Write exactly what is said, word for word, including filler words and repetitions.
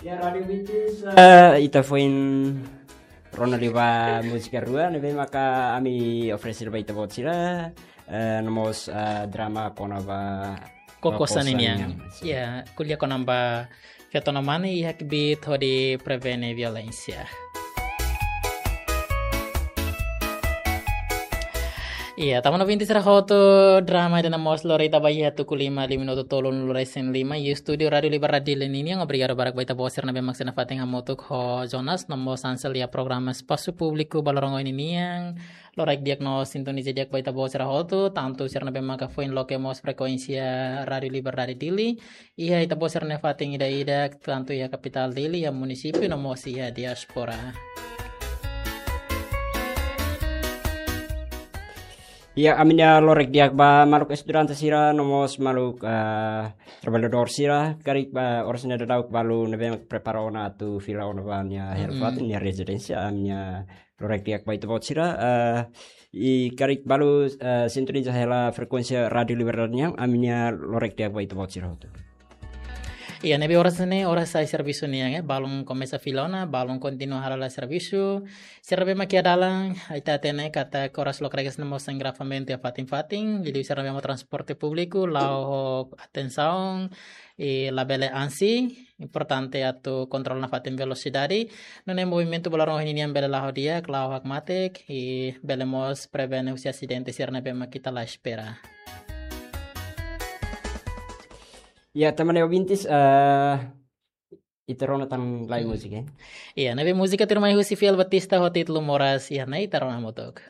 Ya, Rádio Vintis, eh, ita foin rona liu ba múzika rua, ne'ebé maka ami oferese ba ita-boot sira, eh, no mós, eh, drama kona-ba Koko Koko Saninian. Saninian, sin. Ya, ko'alia kona-ba feto no mane iha kbiit hodi prevene violénsia. Iya, tanba ouvintes sira hotu, drama ida-ne'e mós lori ita ba iha tuku lima, lima minutu tolunulu-resin-lima, iha estúdiu Rádio Liberdade Dili ninian. Obrigadu barak ba ita-boot sira ne'ebé mak sei nafatin hamutuk ho Jonas, no mós Ansel iha programa Espasu Públiku ba loron ohin ninian. Lorokraik di'ak no sintoniza di'ak ba ita-boot sira hotu, tantu sira ne'ebé maka foin loke mós frekuénsia Rádio Liberdade Dili. Iha ita-boot sira-nia fatin ida-idak, tantu iha kapitál Dili, iha munisípiu, no mós iha diáspora. Ya, ami-nia lorokraik di'ak ba maluk estudante sira, no mós maluk, eh, traballadór sira, karik ba oras ne'e daudauk balu ne'ebé prepara ona atu fila ona ba nia hela Mm-mm. fatin, nia rezidénsia, ami-nia lorokraik di'ak ba ita-boot sira, eh, i karik balu, eh, sintoniza hela frekuénsia Rádio Liberdade nian, ami-nia lorokraik di'ak ba ita-boot sira hotu. Iya, ne'ebé oras ne'e, oras sai servisu nian, eh, balun komesa fila ona, balun kontinua hala'o servisu. Sira ne'ebé mak iha dalan, ita hatene katak oras lokraik ne'e mós engarrafamentu iha fatin-fatin, jadi sira ne'ebé mak transporte públiku, la'o ho atensaun, i labele ansi, importante atu kontrola nafatin velosidade. Nune'e movimentu ba loron ohin ninian bele la'o di'ak, la'o hakmatek, i bele mós prevene husi asidente sira ne'ebé mak ita la espera. Ya, tanba ne'e ouvintes, eh, ita rona tan lai Mm. múzika, eh? Iya, ne'ebé múzika tuirmai husi Fiel Batista ho títulu Moras, iha ne'e ita rona hamutuk.